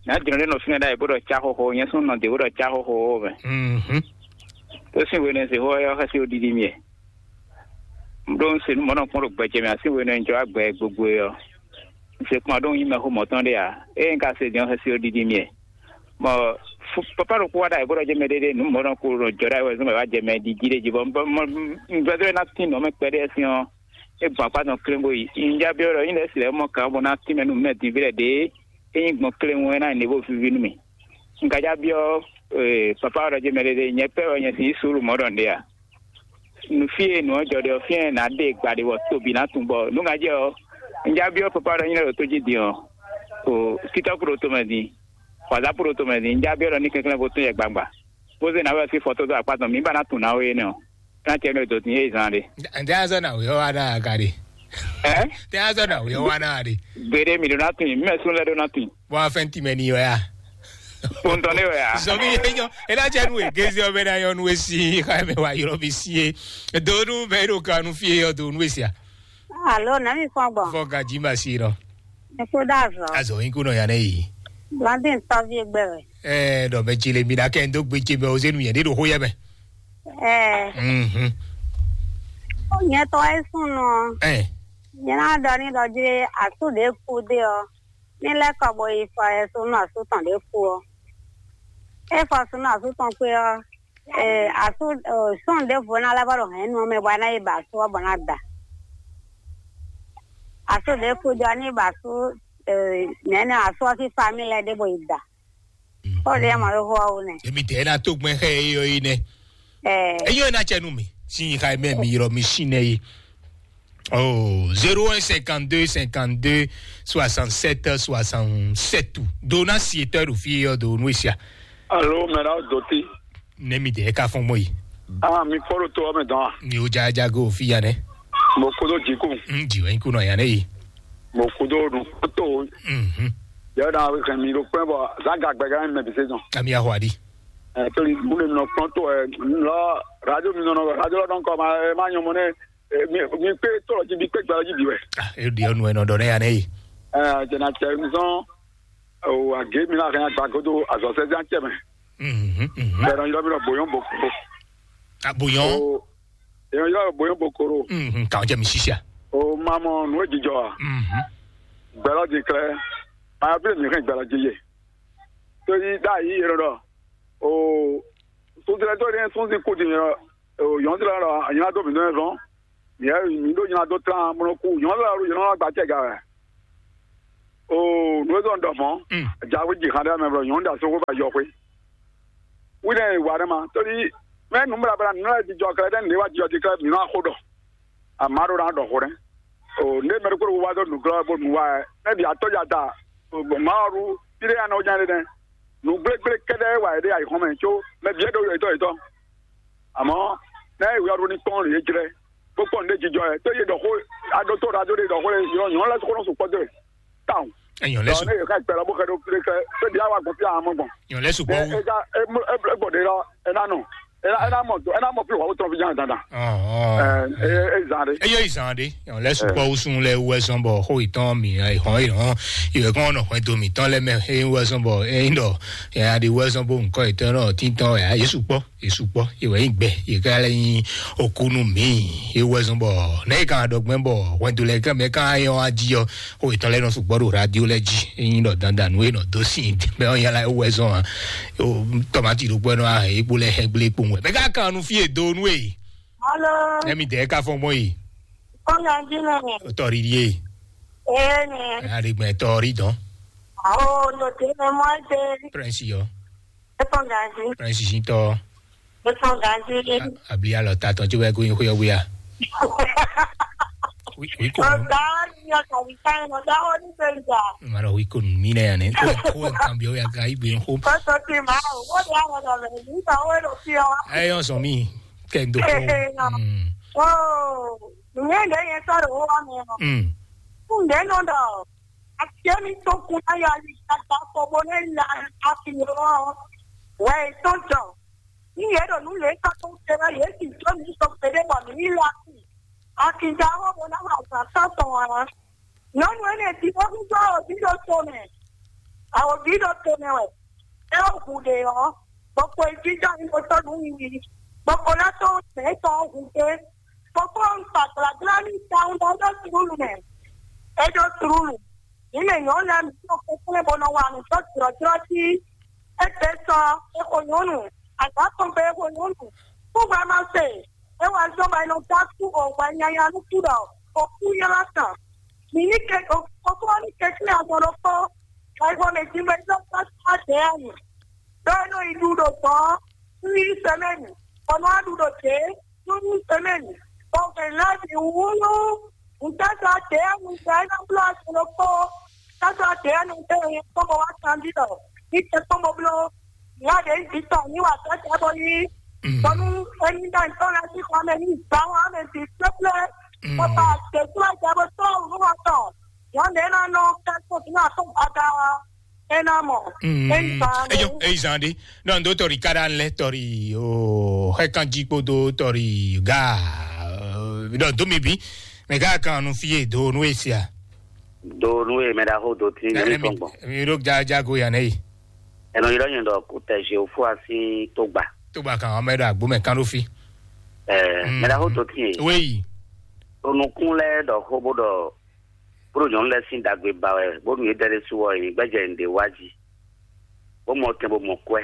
N'a jɔn ɖe nɔ fínɛ ɖa yi bó ɖɔ cá xóxó nyɛ sún nɔ dé bó ɖɔ cá xóxó mɛ. Mhm. Tó sín wéne se xó yɔ xɛsi ó ɖiɖi miɛ. Ɖó un se nú mɔ̌ nɔ kpɔ́n ɖo gbɛjɛ mɛ así wéne un jɔ agbɛ gbogbo ɔ. Un se kpɔ́n ɖó un nyí mɛxó mɔ̌tɔn ɖé ǎ. Ée un ka se din ɔ́ xɛsi ó ɖiɖi miɛ. Bɔ papa ɖokpó wá ɖo ayǐ bó ɖɔ jɛ mɛ ɖéɖé nǔ mɔ̌ nɔ ko ɖo jɔ ɖo ayǐ wɛ zɔn mɛ wá jɛ mɛ ɖiɖi ɖé jí bɔ un gbɛdó ná tín nǔ ɔ́ mɛ kpɛɖé sín ɔ́, é gbɔn akpá tɔn klé bó yi. Un já byɔ́ ɖɔ nyí lɛ́ si lɛ́ mɔ kǎn bó ná tín mɛ nú mɛ din ví lɛ́ ɖě é nyí gbɔn klé ŋu é ná nyí nǔ e bó víví nú mì. Un ka já byɔ́ papa wá ɖɔ jɛ mɛ ɖéɖé nyɛ pɛ́ wɛ nyɛ si yí suúlu mɔ̌ ɖɔ nǔɖé a? Nu fí e nǔ ɔ́ jɔ ɖe ɔ́, fí e nǎ ɖe gba ɖe bɔ tobi ná tunwun bɔ nǔ ŋa jɛ ɔ́, un já byɔ́ papa ɖɔ nyí lɛ́ ɖo tó jí din ɔ́, o títɔ́ kú ɖo tomɛ din, wǎzápú ɖo tomɛ din, un já byɔ́ ɖɔ ní kɛnklɛ́n bó tún yɛ gbangba, bó zé nǎwe ɔ́ sín fɔ́tó dó akpá tɔn mǐ ba ná tunwun nǎwe énɛ́ ɔ́, é ná cɛ nú e dǒ din é zán ɖe. Ǹjẹ́ azɔ́ nǎwe ɔ́ wá ná aga ɖe? Ɛ? Tɛ azɔ́ nǎwe ɔ́ wá ná ɖe? Gbeɖé mǐ ɖó ná tunwun, mǐ mɛ sún lɛ́ ɖó ná tunwun. Bó wá fɛn tìmɛ n'i wɛ ya? Kpɔntɔn ɖé wɛ ya? Zɔmi yɛ nyɔ ela cɛ nu e gezi ɔbɛ na yɔ nu esi xa mɛ wa yɔrɔ bi si e. Do nu bɛ ɖo ka nu fie yɔ do nu esia. Alo, na mi fɔn gbɔn. Fɔ gaji ma si nɔ. Eko da azɔ. Azɔ yin ko nɔ ya ne yi. Blandin tɔvi egbe wɛ. Ɛɛ, dɔ mɛ tsi le mi na kɛ ndo gbe tsi mɛ o zenu yɛ ne ɖo xo yɛ mɛ. Ɛɛ. Mhm. Nyɛ tɔ esun nɔ. Ɛɛ. Nyɛ na dɔ ni dɔ dzi asu ɖe ku de ɔ. Ní lɛ́ kɔ bo yi fɔ yɛsu nú asú tɔn ɖě kú ɔ́. É fɔ asú nú asú tɔn kpé ɔ́, ee, asú sɔ́n ɖěvo ná lɛ́ vɔ ɖo hɛ̌nnu ɔ́ mɛ bɔ é ná yi ba asú ɔ́ bɔ ná da. Asú ɖě kú jɔ ní ba asú nɛ̌ nɛ asú ɔ́ sín famíli lɛ́ɛ ɖěvo yi da. Kó ɖě mɔ ɖó xó ɔ́ wú nɛ. Èmi tẹ̀ ẹ́ ná tó gbɛn xẹ́ é yɔ é nɛ. Ɛɛ. Eyɔ ná cɛ nú mi. Sin yi xa mɛ mi yrɔ mi sin nɛ yi. Oh, zéro un cinquante-deux cinquante-deux soixante-sept soixante-sept. Dona si etɔ ɖo fi yɔ do nu esia. Alo, mɛ na dɔte. Ne mi de ka fɔn mɔ yi. Ah, mi fɔlɔ to ame dɔn. Mi o ja ja go fi ya ne. Mo kodo jiku. Mm, jiwe ku no ya ne yi. Mo kodo nu to. Mhm. Ya da kan mi ro pɛ bɔ za ga gbɛga mi bi se dɔn. Ami ahwadi. Eh, to ni mu ne no pronto eh, lo radio mi no no radio lo don ko ma eh, ma nyomo ne. Mi mi kpé tɔlɔ jí bí kpé gbalɔ jí bí wɛ. Ah, e ɖi ɔnu ɛnɔ ɖɔ ne ya ne yi. Ɛɛ, jɛnɛ cɛ nzɔn o age mi la hɛn agba godo azɔsɛ zan cɛ mɛ. Mhm, mhm. Bɛrɛ yɔrɔ mi lɔ boyɔn bokoro. A boyɔn. O yɔrɔ yɔrɔ boyɔn bokoro. Mhm, k'aw jɛ mi sisia. O ma mɔ nu ejijɔ wa. Mhm. Gbɛlɔ di klɛ. Ma yɔ bi mi hɛn gbɛlɔ di ye. To yi da yi yɔrɔ dɔ. O sunzilɛ to ni sunzi ko di yɔrɔ. O yɔn ti lɔ yɔn ado mi dɔn zɔn. Yɛ mi ɖo nyina dó tlán bó nɔ kú nyɔ̌nu lɛ ɔ́, nyɔ̌nu lɛ gba acɛ ga wɛ. Oo, nǔ e zɔn ɖɔ mɔ̌. Jawe ji xan ɖe mɛ blɔ nyɔ̌nu ɖe asóxo ba yɔ xwé. Wínɛ e wa ɖe ma tóli mɛ nǔ mla bla nǔ lɛ jijɔ kɛlɛ ɖe nǔ e wa jijɔ ji kɛlɛ mǐ nɔ axo ɖɔ. Amǎ ɖó ná ɖɔ xó nɛ́. O, nɖé mɛ ɖokpó ɖokpó wá dó nǔglɔ́ bó nǔ wa wɛ. Nɛ́ bǐ atɔ́ ja da, gbɔn Mawu ɖu fí ɖé anɔ nya ɖé nɛ́. Nǔgblégbé kɛ́ɖɛ́ wɛ wá yě ɖe ayǐhɔ́n mɛ có mɛ bǐ é ɖo yětɔn yětɔn. Amɔ̌, nɛ́ è wia ɖó ní kpɔ́n yě jlɛ́, bó kpɔ́n nǔɖé jijɔ wɛ. Tó yě ɖɔ xó, aɖótó ɖo adó ɖé ɖɔ xó lé, yɔ nyɔ̌nu lɛ́ɛ kó nɔ sukpɔ́ dó e. Táwọn. Ɛ nyɔ̌nu lɛ́ɛ Ɖɔ sukpɔ́. Nɛ́ yě xá gbɛ lɔ bó xɛ ɖó kplé kɛ, tó bǐ á wá gbɔn fí amɔ gbɔn. Nyɔ̌nu lɛ́ɛ sukpɔ́ Ɛ wú. Ɛ ja é mú é gbɔn ɖé lɔ, é ná nɔ. É ná é ná mɔ é ná mɔ fí wǎ wó tɔn fí ján dandan. Ɔn, ɔn. Ɛ é é zan ɖé. Eye yi zan ɖe, ɔn lɛ sukpɔ wusun lɛ wɛ zɔn bɔ xo itɔn mi hɔn yi hɔn iwɛ kɔn nɔ hwɛndo mitɔn lɛ mɛ e wɛ zɔn bɔ e yin dɔ ya ɖe wɛ zɔn bo nkɔ itɔn nɔ tintɔn ya yesu kpɔ yesu kpɔ iwɛ yin gbɛ yi ka lɛ yin okunu mi e wɛ zɔn bɔ ne kan dɔ gbɛn bɔ hwɛndo lɛ kan mɛ kan yɔ aji yɔ xo itɔn lɛ nɔ sukpɔ ɖo radio lɛ ji e yin dɔ dandan nu e nɔ do sin bɛ ɔn yala e wɛ zɔn a tɔmati ɖokpɔ nɔ ahɛ ekpo lɛ hɛ gble kpo wɛ mɛ ka kan nu fi e do nu e Alo, ne mi dɛ ka fɔ mɔ yi. Kɔmi adi nɛ. Tɔri ye. Ee nɛ. Ari gbɛ tɔri dɔn. Awo, no te nɛ mɔ te. Prince yɔ. Ekɔn gazi. Prince si tɔ. Ekɔn gazi. Abli alɔ ta tɔn tí wɛ kó yin xó yɔ wíya. Wi wi ko. Ọ̀gá ni ọkàn mi ká ẹnu ọ̀gá wọn ní sẹ́ńtà. Màrọ̀ wi ko mi nẹ yàn ní. Kó kó kan bí ó yà ká igbe ń hó. Kọ́sọ̀ ti máa ń wọ́n di àwọn ọ̀dọ̀ rẹ̀ nígbà wọ́n lọ sí ọ. Ẹ yọ sọ mí. Kendo ko. Ee, no. Mm. Oh, nye ɖe nye tɔ ɖe wo wa mɛ nɔ. Mm. Kun ɖe nɔ ɖɔ. Ati mi to kun na ya li tata ko bo ne la ati yo. Wɛ to jɔ. Ni ye ɖo nu le ka to te na ye si to mi so pe de bɔ mi la. Ati ja wo bo na ha sa sa to wa. Nyɔnu énɛ́ jí bó húzú awǒvi ɖo to mɛ. Awǒvi ɖo to mɛ wɛ. É wɔ hu ɖe ɔ́, bɔ xwe jínjɔ́n ní bó tɔ́ nǔ wiwi, bɔ xo ná tɔ́n mɛ tɔn ɔ́ hu gbé. Bɔ kpɔ́n un kpa gblagbla n'i tawun ɖɔ ɖó tlúlu mɛ. É ɖó tlúlu. Mǐ mɛ nyɔ̌nu lɛ́ɛ mǐ nɔ kɛnklɛ́n bó nɔ wa nǔ dó jlɔ̌jlɔ́ jí. Égbé sɔ, é xo nyɔ̌nu, azǎn tɔn gbe é xo nyɔ̌nu. Kúgbɛ́ ma se, é wá zɔ́n bɔ è nɔ dó asú o hwɛ nyanya nú kú ɖɔ o kú ylɔ́ tɔn. Mǐ ní ke o kókó ní kɛnklɛ́n azɔn ɖokpó, bɔ é xo mɛ din bɔ é zɔ́n dó asú adě ɔ́ nu. Ɖó é nɔ yi ɖu ɖo gbɔ̌n nú yí sɛmɛ́ni, bɔ nɔ wá ɖu ɖo dě nú yí sɛmɛ́ni, bɔ hwɛ̌n ná bǐ wúlú. Ŋutɔ́ sɔ́ dě ɔ́, ŋutɔ́ é nɔ bló azɔn ɖokpó, tɔ́ sɔ́ dě ɔ́, nɔ tɛ́ nyɛ kpɔ́n bɔ wá kanjí ɖɔ ní tɛ kpɔ́n bɔ bló. Nya ɖě bǐ tɔn ní wa tɔ́ tɛ bɔ yí. Bɔnú emi ɖɔ ntɔ́ lɛ́ɛ sín xɔ mɛ ní gbǎ wọn mɛ bǐ kplékplé. Bɔ ba tɛ̌kplɔ́ jɛ bó tɔ́ nǔ wọn tɔn. Nyɔ̌nu ɖě ná nɔ ká tó bǐ ná tó gbada wa. É ná mɔ. É ní ba. Eyo, eyi zan ɖe. Non, dotɔ Ricardo lɛ tɔri o hɛ kan jí kpódó tɔri ga. Ɖɔ dó mi bí. Mɛ gá kan nu fie do nu esia. Do nu e mɛ ɖaxó do tí ní tɔn gbɔn. Mi ɖo jajago ya nɛ yi. Ɛnɔ yi ɖɔ nyɛ ɖɔ kó tɛ Jehofa sín tó gba. Tó gba kan ɔmɛ ɖo agbo mɛ kan ɖo fi. Ɛɛ, mɛ ɖaxó do tí yɛ. Wéyi. Onukun lɛ ɖɔ xó bó ɖɔ bó ɖo nyɔ̌nu lɛ́ɛ sín ɖagbe ba wɛ bónú yě dɛ ɖé su ɔ́, yě gbɛ́jɛ nǔɖé wá jí, bó mɔ tɛn bó mɔ kwɛ́,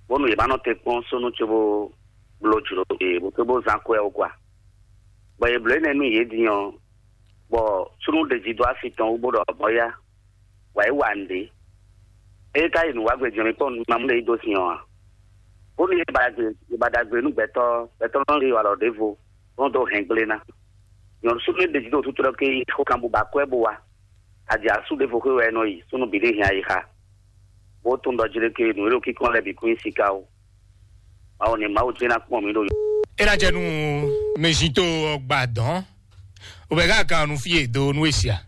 bónú yě ma nɔ te kpɔ́n súnnu cóbó bló jlǒ yě bó cóbó zán kwɛ́ ó kwa. Bɔ yě bló énɛ́ nú yě din ɔ́, bɔ súnnu ɖe jí dó asi tɔn wú bó ɖɔ mɔ̌ yá, wǎ yí wa nǔɖé. Ée ka yi nǔ wá gbe jɔnlin kpɔ́n nú mamú ɖé yí dó sin ɔ́ ǎ. Bónú yě ba ɖagbe yě ba ɖagbe nú gbɛtɔ́, gbɛtɔ́ nɔ yi alɔ ɖěvo, bó nɔ dó hɛn gblé ná. Nyɔ̌nu súnnu e ɖe jí ɖo tútú ɖɔ ké yí xó kan bó ba kwɛ́ bó wá. Aji asú ɖěvo xwé wɛ é nɔ yi, súnnu bǐ ɖé hɛn ayixa. Bó tunwun ɖɔ jí ɖé ké nǔ e ɖo kíkɔn lɛ́ɛ bǐ kún nyí siká ó. Mawu ní Mawu jɛ́n ná kpɔ́n mǐ ɖo. E ná jɛ nú mɛzito ɔgba dɔn. O bɛ ká kan nu fie do nu esia.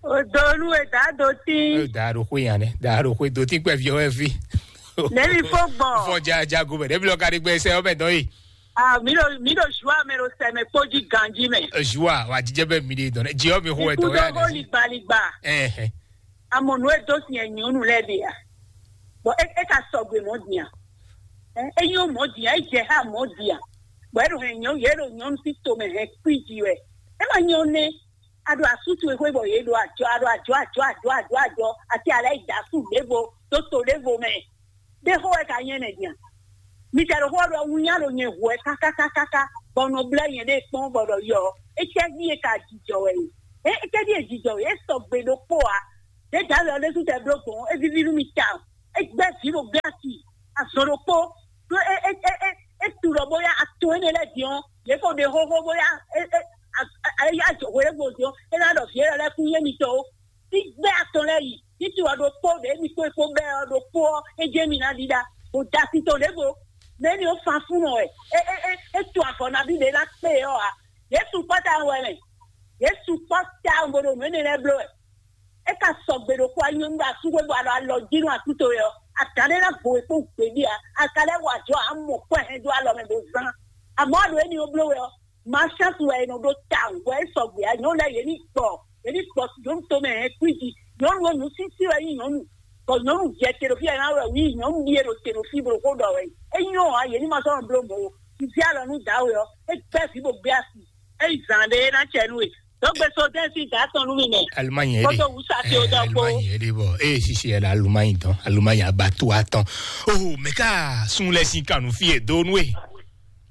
O do nu e da do tí. E da do xwe yan ne, da do xwe do tí kpɛ fi ɔwɛ fi. Nɛmi fo gbɔn. Fɔ ja ja go bɛ, ne bi lɔ ka ɖe gbɛ sɛ ɔbɛ dɔn ye. Ah, mi ɖo mi ɖo zu ame ɖo sɛmɛ kpó jí ganji mɛ. Zua wa jijɛ bɛ mi de dɔn. Ji ɔ mi xo wɛ dɔn ya. Kudo ligbaligba. Ɛhɛ. Amɔ nu e do sin nyɔnu lɛ de ya. Bɔn e e ka sɔgbe mɔ diyan. Ɛ e nyɔ mɔ diyan, e jɛ ha mɔ diyan. Bɔn e ɖo hɛn nyɔ ye ɖo nyɔnu si to mɛ hɛn kpi ji wɛ. E ma nyɔ ne. A ɖo asutu e xwe bɔ ye ɖo ajɔ, a ɖo ajɔ ajɔ ajɔ ajɔ ajɔ. Ati alɛ yi da su ɖevo, to to ɖevo mɛ. Ɖé xó wɛ ka nyɛ nɛ din a? Mi ka ɖo xó ɔ́ ɖɔ un nya ɖo nyɛ hu wɛ kákákákáká, bɔ un nɔ blɛ́ nyɛɖée kpɔ́n bɔ ɖɔ yɔ, Étɛ́ví e ka jijɔ wɛ e? É étɛ́ví e jijɔ wɛ? É sɔgbe ɖokpó ǎ. Ɖědǎwe ɔ́ ɖésú tɛ bló gbɔn, é víví nú mi tawun. É gbɛ́ vǐ ɖo gbɛ́ asi, azɔn ɖokpó. Ɖó é é é é é tu ɖɔ bóyá atɔn énɛ́ lɛ́ɛ din ɔ́, yě ko ɖe xóxó bóyá é é é yá jɔ hwelégbo din ɔ́, é ná ɖɔ vǐ élɔ́ lɛ́ɛ kún nyí émitɔn ó. Sígbɛ́ atɔn lɛ́ɛ yi, títí ɔ́ ɖokpó ɖě mi kpó kpó bɛ́ ɔ́ ɖokpó ɔ́, é jɛ mi ná ɖiɖa, bó da sin tɔn ɖěvo. Mɛ̌ ni ó fan fún nɔ wɛ? É é é é tu avɔ nabí ɖě ná kpé ɔ́ ǎ. Yěsu kpɔ́ tawun wɛ mɛ. Yěsu kpɔ́ tawun bó ɖo nǔ énɛ́ lɛ́ɛ bló wɛ. É ka sɔgbe ɖokpó anyɔ́nú ɖo asúxwé bɔ alɔ alɔ jí nú atúto wɛ ɔ́, adǎn ɖé ná gbo wě kpó gběɖé ǎ. A ka lɛ́ wa jɔ amɔ kɔ́ hɛn dó alɔ mɛ bó zán. Amɔ̌ ɖo éní ó bló wɛ ɔ́, Mǎ chance wɛ è nɔ ɖó tawun, bɔ é sɔgbe ǎ. Nyɔ̌nu lɛ́ɛ yě ní gbɔ, yě ní gbɔ nyɔ̌nu tomɛ hɛn kwíji. Nyɔ̌nu ɔ́, nǔsísí wɛ nyí nyɔ̌nu, bɔ nyɔ̌nu jɛ teɖofí wɛ ná wɛ wí nyɔ̌nu ɖíe ɖo teɖofí bó xó ɖɔ wɛ. É nyɔ́ ǎ, yě ní ma sɔ́ nɔ bló mɔ̌ ó. Vǐ alɔ nú dǎwe ɔ́, é gbɛ́ vǐ bó gbé asi. É yi zǎn ɖé é ná cɛ nú we. Dɔ̌gbe sodɛ́n sín dǎ tɔn nú mi mɛ. Alumanyi ɛ Kótó wúsa tí ó dɔ kpó. Alumanyi ɛ ɖe bɔ eye sisi ɛ la alumanyi dɔn alumanyi abatu atɔn. Oh, mɛ ká sun lɛ sin kanu fi e do nú e.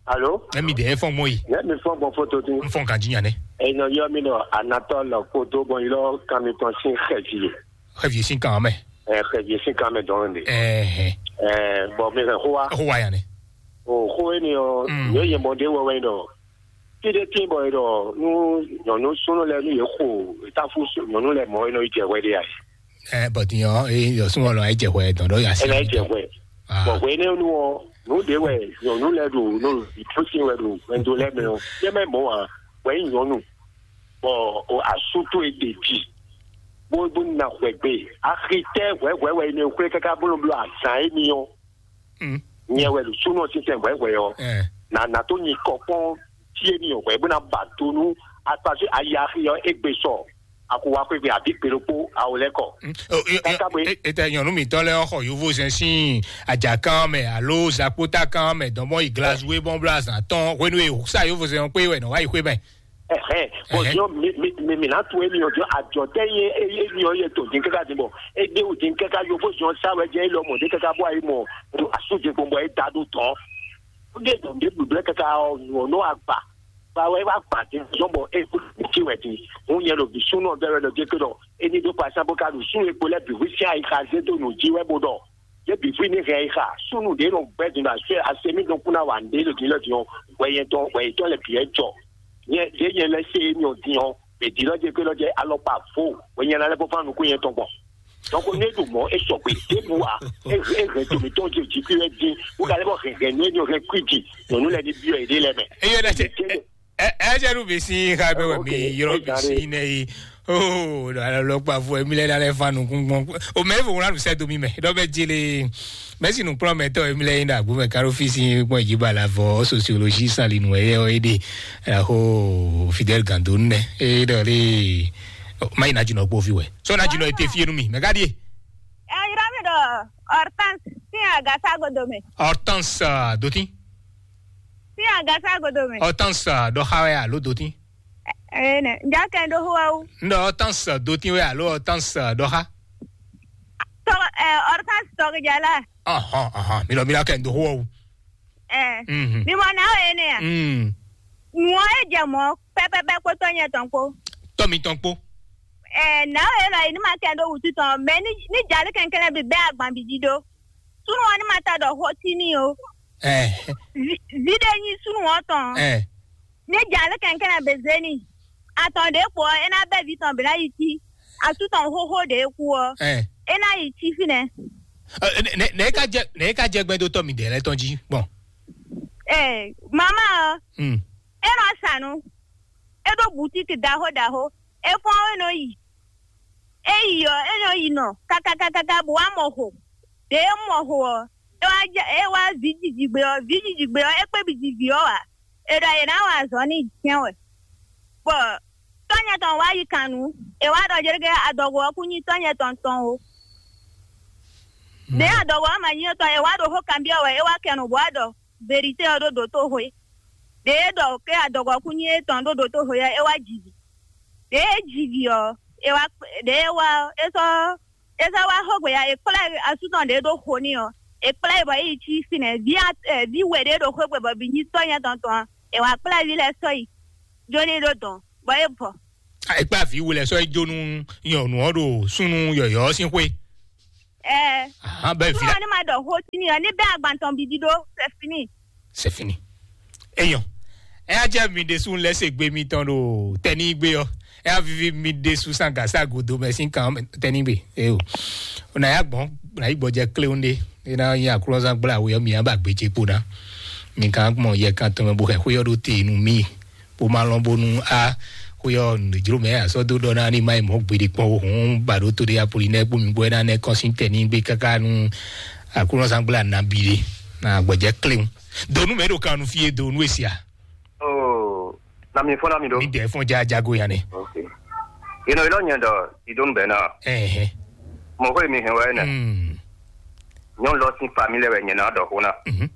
Alo? Ɛmi ɖe fɔn mɔ yi. Ne mi fɔn gbɔn foto tun. N fɔn kan jinya ne. Enɔ yɔ mi nɔ anatɔ lɔ kpo do bɔn yi lɔ kan mi tɔn sin xɛvi. Xɛvi sin kan mɛ. Ɛ xɛvi sin kan mɛ dɔn de. Ɛhɛ. Ɛ bɔn mi hɛn xó wa. Xó wa ya ne. O xó e ni ɔ. Mm. Yɔ yɛ mɔ de wɛ wɛ nɔ. Fi ɖe tin bɔ e ɖɔ nu nyɔnu sunu lɛ nu ye xo tafu nyɔnu lɛ mɔ e nɔ yi jɛ hwɛ de ayi. Ɛ bɔn din ɔ e yɔ sun ɔlɔ e jɛ hwɛ dɔn dɔ ya si. Ɛ na yi jɛ hwɛ. Ah. Bɔn hwɛ ne nu ɔ nu de wɛ nyɔnu lɛ ɖo no ìtúsí wɛ ɖo wɛndo lɛ mɛ ɔ yɛ mɛ mɔ a wɛ nyí nyɔnu bɔ o asu to e de dzi bó bó na hwɛ gbe axi tɛ hwɛ hwɛ wɛ ne xwlé kaka bó nɔ bló azan émi ɔ. Mm. Nyɛ wɛ ɖo súnɔ sísɛn hwɛ hwɛ ɔ. Eh. Na na tó nyi kɔ kpɔn tí émi ɔ hwɛ bó na ba do nú akpasú ayi axi ɔ égbé sɔ akuwa xwégbe àbí kpe ɖokpó awo lɛ kɔ. Mm. O, e, e, Kaka bwe. E, e, tɛ nyɔnu mitɔ lɛ xɔ yovo zɛn sín ajakán mɛ alo zakpótakán mɛ dɔn bɔ yi glaswe bɔn bla zan tɔn hwenu e sa yovo zɛn kpé wɛ nɔ wá yi xwé mɛ. Ɛhɛn, bɔn Ɛhɛn. Diɔ mi mi mi mi na to emi ɔ diɔ ajɔ tɛ ye eye mi ɔ ye to din kaka din bɔ e de o din kaka yovo diɔ sa wɛ jɛ elɔ mɔ de kaka bɔ ayi mɔ asu din gbɔn bɔ e da do tɔn. De to de blɛ kaka ɔ nɔ agba ba wɛ wa gba din diɔ bɔ e ko ti wɛ din. Hun yɛ lo bi sun nɔ bɛ wɛ lɔ de ke dɔ eni do pa sa bo ka do sun e ko lɛ bi wi sia yi ka ze do no ji wɛ bo dɔ. Ye bǐ fí ní hɛn yi xa súnnu ɖě nɔ gbɛ́ din ɖo asú ɛ asemi dɔn kún ná wa nǔɖé ɖo din lɔ din ɔ́, hwɛ yɛn tɔn hwɛ yětɔn lɛ bǐ wɛ jɔ. Nyɛ ɖě nyɛ lɛ́ se émi ɔ́ din ɔ́, mɛ din lɔ jɛ gbé lɔ jɛ alɔkpa vo hwɛ nyɛ ná lɛ́ bó fán nukún yɛn tɔn gbɔn. Donc ne ɖo mɔ̌ é sɔgbe ɖěbǔ ǎ, é é hɛn to mǐtɔn jɛ jǐ kú wɛ dín, wó ka lɛ́ bɔ hɛn hɛn nú émi ɔ́ hɛn kwíji nyɔ̌nu lɛ́ɛ ní byɔ́ yěɖée lɛ́ɛ mɛ. Eye ɖe se ɛ ɛ jɛ nu bisi ha bɛ wɛ mi yɔrɔ bisi ne yi. Oh, ɖo alɔ lɔ kpa fo emi lɛ na lɛ fa nukun gbɔn. O mɛ fo wla nu sɛ do mi mɛ ɖɔ bɛ jele. Mɛsi nukplɔn mɛ tɔ emi lɛ yi na agbo mɛ karo fisi gbɔn yi ba la vɔ sociologie sali nu ɛ yɛ ɔ ede. Aho Fidel Gando nɛ e ɖɔ le. Ma yi na jinɔ kpo fi wɛ so na jinɔ ete fi enu mi mɛ ka die. Ɛ yɔrɔ mi ɖɔ Hortense sin agasa godo mɛ. Hortense dotin. Sin agasa godo mɛ. Hortense dɔ xa wɛ alo dotin. Ene, nja kɛ ndo huwa wu. N ɖɔ Hortense dotin wɛ alo Hortense dɔ xa. Tɔ ɛ Hortense tɔ jala. Ɔhɔn ɔhɔn mi lɔ mi lɔ kɛ ndo huwa wu. Ɛ Mhm. Mi mɔ na o ene ya. Mm. Nuɔ e jɛ mɔ pɛpɛpɛ kpótɔ nyɛ tɔn kpó. Tɔ mi tɔn kpó. Ɛ na o e lɔ yi ni ma kɛ ndo wutu tɔn mɛ ni ni jali kɛnkɛn bi bɛ agban bi di do. Sunu ɔ ni ma ta dɔ xɔ ti ni o. Ɛ Vi ɖe nyi sunu ɔ tɔn. Ɛ Ne dza lé kɛnkɛn na bezeni. Atɔn ɖě kpo ɔ́, é ná bɛ́ vǐ tɔn bǐ ná yi cí. Asú tɔn xóxó ɖě kú ɔ́, Ɛ. É ná yi cí fínɛ́. Ɛ, nɛ- nɛ- nɛ e ka jɛ nɛ e ka jɛ gbɛdotɔ mi dɛ lɛ tɔn jí gbɔn. Ee, mama ɔ́, Hmm. É nɔ sa nu. É ɖó butiki ɖaxó ɖaxó. É fɔ́n é nɔ yi. É yi ɔ́, é nɔ yi nɔ kakakakaka bó wá mɔ xo. Ɖě é mɔ xo ɔ́, é wá jɛ é wá vǐ jijigbe ɔ́, vǐ jijigbe ɔ́, é kpé bǐ ji vǐ ɔ́ ǎ. È ɖɔ è nǎ wa azɔ̌ n'i jɛ́n wɛ. Bɔ tɔ́nyɛ tɔn wá yi kan nǔ, è wá ɖɔ jɛ́ɖɛ́ adɔgo ɔ́ kún nyí tɔ́nyɛ tɔn tɔn ó. Ɖě adɔgo ɔ́ ma nyí tɔn, è wá ɖo xó kanbyɔ́ wɛ, é wá kɛ nǔ bó wá ɖɔ verité ɔ́ ɖó dǒtoxwe. Ɖě é ɖɔ ké adɔgo ɔ́ kún nyí étɔn ɖó dǒtoxwe ɔ́, é wá ji vǐ. Ɖě é ji vǐ ɔ́, é wá kpé- ɖě é wá ɔ́, é sɔ́ é sɔ́ wá xógbe ya, è kplá asú tɔn ɖě ɖó xo n'i ɔ́, è kplá ɛ bɔ é yi cí fínɛ́. Vǐ a- ɛ, vǐ we ɖě ɖo xwé gbe bɔ bǐ nyí tɔ́ nyɛ tɔn tɔn ɔ́, è wǎ kplá vǐ lɛ́ɛ sɔ́ yi. Jó ní ɖó dɔn, bɔ é bɔ. Ekpá vǐ wulɛ sɔ́ é jó nú nyɔ̌nu ɔ́ ɖo súnnu yɔ̌yɔ́ ɔ́ sín xwé. Ɛɛ. Ahan, bɛ́ vǐ Súnnu la. Ɔ́ ní ma ɖɔ xó sí ní ɔ́, ní bɛ́ agban tɔn bǐ ɖíɖó, c'est fini. C'est fini. Eyɔn. Ɛ á jẹ́ mi ɖésú lɛ́ se gbe mitɔn ɖo tɛnígbe ɔ́. Ɛ á vivi mi ɖésú sán gǎ sá godo mɛ sín kan tɛnígbe. Eo. Nà yá gbɔn, nà yí gbɔjɛ kléwún ɖé. É ná nyí aklúnɔzán gbla we ɔ́, mi á ba gbé ce kpo ná. Mi kan gbɔn yɛ kan tɔn mɛ bó xɛ xwé ɔ́ ɖó te nú mi. Bó má lɔn bónú á xwé ɔ́ nǔjló mɛ asɔ́ dó ɖɔ ná ní má yi mɔ̌ gbeɖé kpɔ́n ó hǔn ba ɖó to ɖé Apolinɛ́ɛ kpó mi gbɔ é ná nɛ́ kɔn sín tɛn ní gbé káká nú Aklúnɔzán gbla nabí ɖé na gbɔjɛ kléwún. Donu mɛ ɖo kan nu fie donu e sia. Oh, na mi fɔ na mi ɖo. Mi dɛ fɔn ja jago ya nɛ. Ok. Ino ilo nyɛ dɔ idonu bɛ na. Ɛhɛ. Mo ko mi hɛn wɛ nɛ. Mm. Nyɔnu lɔ sin famille wɛ nyɛ na dɔ ko na. Mhm.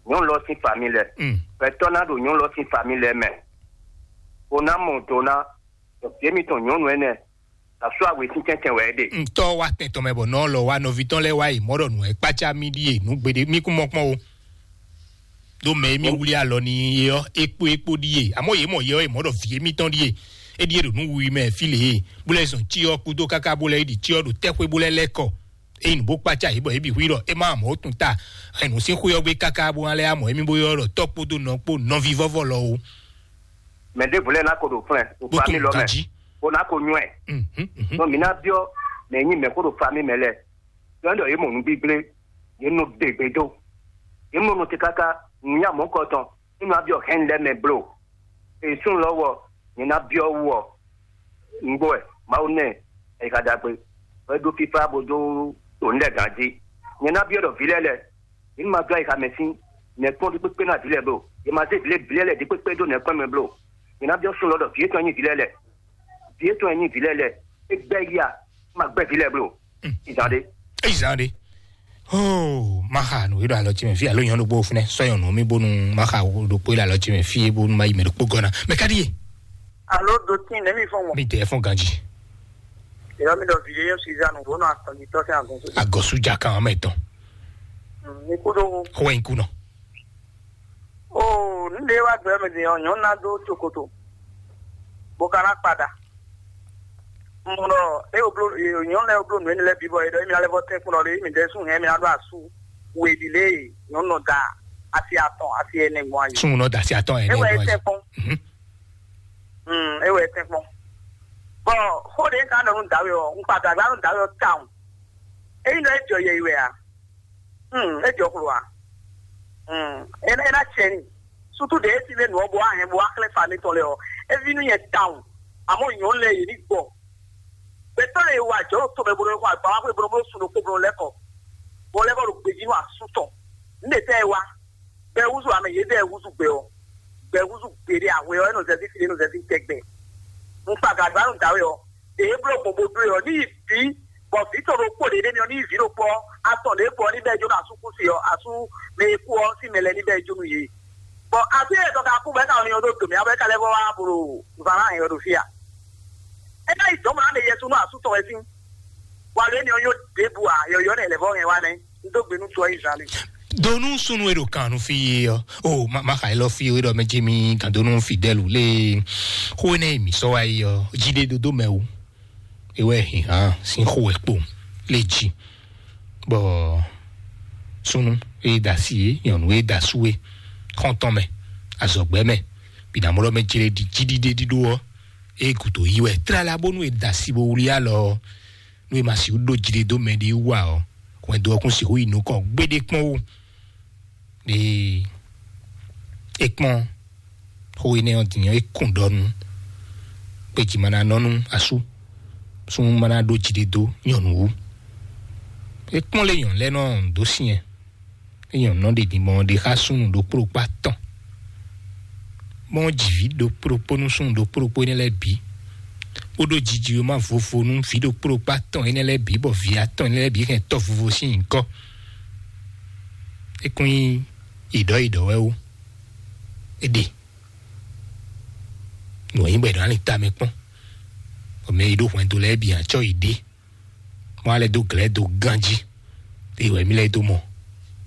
Nyɔnu lɔ sin famille lɛ. Mm. Pɛtɔ na ɖo nyɔnu lɔ sin famille lɛ mɛ. Ko na mɔ do na. Ɖɔ fie mi tɔn nyɔnu ɛnɛ. Asú awe sín tɛntɛn wɛ é ɖe. Ntɔ wa tɛn tɔn mɛ bɔ nɔ lɔ wa nɔvi tɔn lɛ wa yi mɔ ɖɔ nù ɛ kpatsa mi ɖi e nù gbeɖe mi kún mɔ kpɔn o. Ɖo mɛ mi wuli alɔ ni ye ɔ ekpo ekpo ɖi e amɔ ye mɔ ye ɔ ye mɔ ɖɔ vi mi tɔn ɖi e e ɖi e ɖo nù wi mɛ fi le e bó lɛ zɔn tsi ɔ kúdó káká bó lɛ yi ɖi tsi ɔ ɖo tɛxwe bó lɛ lɛ kɔ. Eyi nù bó kpatsa yě bɔ yě bǐ hu yi ɖɔ é má mɔ ó tun ta. Ɛnu sín xwé ɔ́ gbé káká bó ŋa lɛ amɔ émí bó ylɔ́ ɖɔ tɔ́ kpódó nɔ kpó nɔví vɔ́vɔ́ lɔ o. Mɛ ɖěvo lɛ́ɛ ná ko ɖo flɛ́n ɖo Bó famí tunú lɔ mɛ, ganjí. Bó ná ko nywɛ́. Mhm, mhm. Nɔ mǐ ná byɔ́ mɛ e nyí mɛ̌xó ɖo famí mɛ lɛ́ɛ. Byɔ́ ɖɔ yě mɔ nǔgbígblé, yě nɔ ɖe gbe dó, yě mɔ nɔ te káká nǔnywɛ́ mɔ̌kɔ tɔn, nú ná byɔ́ hɛn lɛ́ɛ mɛ bló. È súnnu lɔ wɔ, nyɛ ná byɔ́ wú ɔ, nǔgbó wɛ Mawu nɛ ayixa ɖagbe, bɔ é ɖó fífá bó dó to nǔ lɛ́ɛ gǎn jí. Nyɛ ná byɔ́ ɖɔ vǐ lɛ́ɛ lɛ́ɛ, yě ní ma dó ayixa mɛ sín nɛ̌kpɔ́n ɖi kpékpé ná vǐ lɛ́ɛ bló. Yě ma zé vǐ lɛ́ɛ vǐ lɛ́ɛ lɛ́ɛ ɖi kpékpé dó nɛ̌kpɔ́n mɛ bló. Nyɛ ná byɔ́ súnnu lɔ ɖɔ vǐ étɔn nyí vǐ lɛ́ɛ lɛ́ɛ, vǐ étɔn nyí vǐ lɛ́ɛ lɛ́ɛ, é gbɛ́ yí a, má gbɛ́ vǐ lɛ́ɛ bló. Ìzán ɖé. Ìzán ɖé. Oh, má xa nǔ e ɖo alɔ ce mɛ fí alo nyɔnu ɖokpó fúnɛ sɔ́ nyɔnu mi bónú má xa ɖokpó e ɖo alɔ ce mɛ fí bónú má yi mɛ ɖokpó gɔ́ ná. Mɛ ká ɖíe. Alo dotín nɛ̌ mi fɔ́n mɔ? Mi dɛ fɔ́n ganjí. Ìyá mi ɖɔ vǐ yé Sizanu bó nɔ akɔnjitɔ́ sín agɔn sódì. Agɔsújà kan ɔmɛ tɔn. Mi kú ɖó. Xó wɛ nyí kú nɔ. Oo, nǔɖé wá gbɛ mɛ din ɔ́, nyɔ̌nu ná dó cokoto, bó ka ná kpaɖa. Un mɔ ɖɔ é wo bló nyɔ̌nu lɛ́ɛ wo bló nǔ énɛ́ lɛ́ɛ bǐ bɔ é ɖɔ émí ná lɛ́ vɔ tɛ́nkpɔ́n ɖɔ émí ɖɛ́sú hɛn émí ná ɖó asú we ɖi lě e nyɔ̌nu nɔ da asi atɔn asi ɛnɛ gbɔn ayi. Súnnu nɔ da asi atɔn É ɛnɛ wɛ é gbɔn tɛ́nkpɔ́n. Mhm. Mm, é wɛ é tɛ́nkpɔ́n. Bɔ xó ɖé ka nɔ nú dǎwe ɔ́, un kpa dǎgbá nú dǎwe ɔ́ tawun. Ényí nɔ é jɔ yɛ yi wɛ a? Hmm, é jɔ xlo a? Hmm, é ná é ná cɛ ni. Sutu ɖe é sín ɖe nǔ ɔ́ bó wá hɛn bó wá xlɛ́ fa mi tɔn lɛ ɔ́, é ví nú nyɛ tawun. Àmọ́ nyɔ̌nu lɛ́ɛ yě ní gbɔ. Gbɛtɔ́ lɛ́ɛ e wa jɔ̌ ɖo tomɛ bó nɔ xɔ agba wá xwé bó nɔ bló sun ɖokpó bó nɔ lɛ́ kɔ. Bó lɛ́ kɔ ɖo gbejí nú asú tɔn. Nǔ ɖe tɛ́ e wá? Gbɛ húzú amɛ yědɛɛ húzú gbɛ ɔ́. Gbɛ húzú gbeɖé ahwe ɔ́, é nɔ zɛzí fi, é nɔ zɛzí tɛgbɛ. Un kpa gǎgbá nú dǎwe ɔ́. Ɖě é bló gbɔn bó ɖó e ɔ́, ní yi vǐ, bɔ vǐ tɔn ɖokpó ɖě ɖ'é mɛ ɔ́, ní yi vǐ ɖokpó ɔ́, atɔn ɖě kpo ɔ́, ní bɛ́ jó nú asúkúsi ɔ́, asú mɛ e kú ɔ́ sín mɛ lɛ́ɛ ní bɛ́ jó nú yě. Bɔ asú e tɔn ka kú bɔ é ka nɔ nyɔ ɖó dǒ mɛ ɔ́, bɔ é ka lɛ́ vɔ wá blo zǎn ná hɛn ɔ́ ɖo fí a? É ná yi dɔ̌n mɔ ná ɖe yɛsu nú asú tɔn wɛ sín. Bɔ alo énɛ́ ɔ́ nyó ɖěbǔ ǎ, yɔ̌yɔ́ nɛ́ lɛ̌ vɔ hɛn wá nɛ́. Un dó gbe nú tɔ́ Izlayɛ́li. Donu súnnu e ɖo kan nú fí é ɔ́, o ma ma xa élɔ́ fí é ɖɔ mɛ jimi gǎndonu Fidɛlu lé xó énɛ́ e mǐ sɔ́ wá é ɔ́, jí ɖé dodó mɛ o. É wɛ hǐnhǎn sín xó wɛ kpo lé jí. Bɔ súnnu e da si é, nyɔ̌nu e da sú é, xɔ́ntɔn mɛ, azɔ̌gbɛ́ mɛ, bǐ ná mɔ ɖɔ mɛ jlé ɖi jí ɖiɖe ɖíɖó ɔ́, é gǔdo yí wɛ tlala bónú è da si bó wlí alɔ ɔ́, nú è ma sixú ɖó jiɖe dó mɛɖé wú ǎ ɔ́, hwɛndo ɔ́ kún sixú yi nukɔn gbéɖé kpɔ́n ó. Ɖe é kpɔ́n xó énɛ́ ɔ́ din ɔ́, é kún ɖɔ nú gbejí ma ná nɔ nú asú, súnnu ma ná ɖó jiɖe dó nyɔ̌nu wú. É kpɔ́n lé nyɔ̌nu lɛ́ɛ nɔ dó syɛn. Nyɔ̌nu nɔ ɖe din mɔ ɖe xá súnnu ɖokpó ɖokpó atɔn. Mɔ jǐví ɖokpó ɖokpó nú súnnu ɖokpó ɖokpó énɛ́ lɛ́ɛ bǐ, bó ɖó jiji e ma vovo nú vǐ ɖokpó ɖokpó atɔn énɛ́ lɛ́ɛ bǐ, bɔ vǐ atɔn énɛ́ lɛ́ɛ bǐ hɛn tɔ́ vovo sín nyǐkɔ. É kún nyí iɖɔ́ iɖɔ́ wɛ ó. É ɖe nǔ e nyí bɔ è nɔ ali tamɛ kpɔ́n, bɔ mɛ e ɖó hwɛndo lɛ́ɛ bǐ acɔ́ yi ɖe. Mɔ alɛ dó glɛ̌ dó ganjí. Eye wɛ mí lɛ́ dó mɔ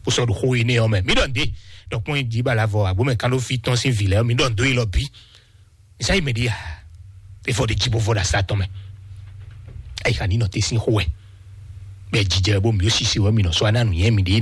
bó sɔ́ ɖo xó énɛ́ ɔ́ mɛ. Mí ɖɔ nǔɖé ɖɔ kpɔ́n jí ba la vɔ agbómɛ kán ɖó fí tɔn sín vǐ lɛ́ɛ ɔ́, mí ɖɔ nǔɖó élɔ́ bǐ. Sɛ yi mɛ ɖi ya. Efɔ ɖe dzi bó vɔ ɖe asa tɔn mɛ. Ayi xa ní nɔ te sín xó wɛ. Bɛ jijɛ bó mi ó sisi wɛ mi nɔ sɔ aná nu yɛn mi ɖe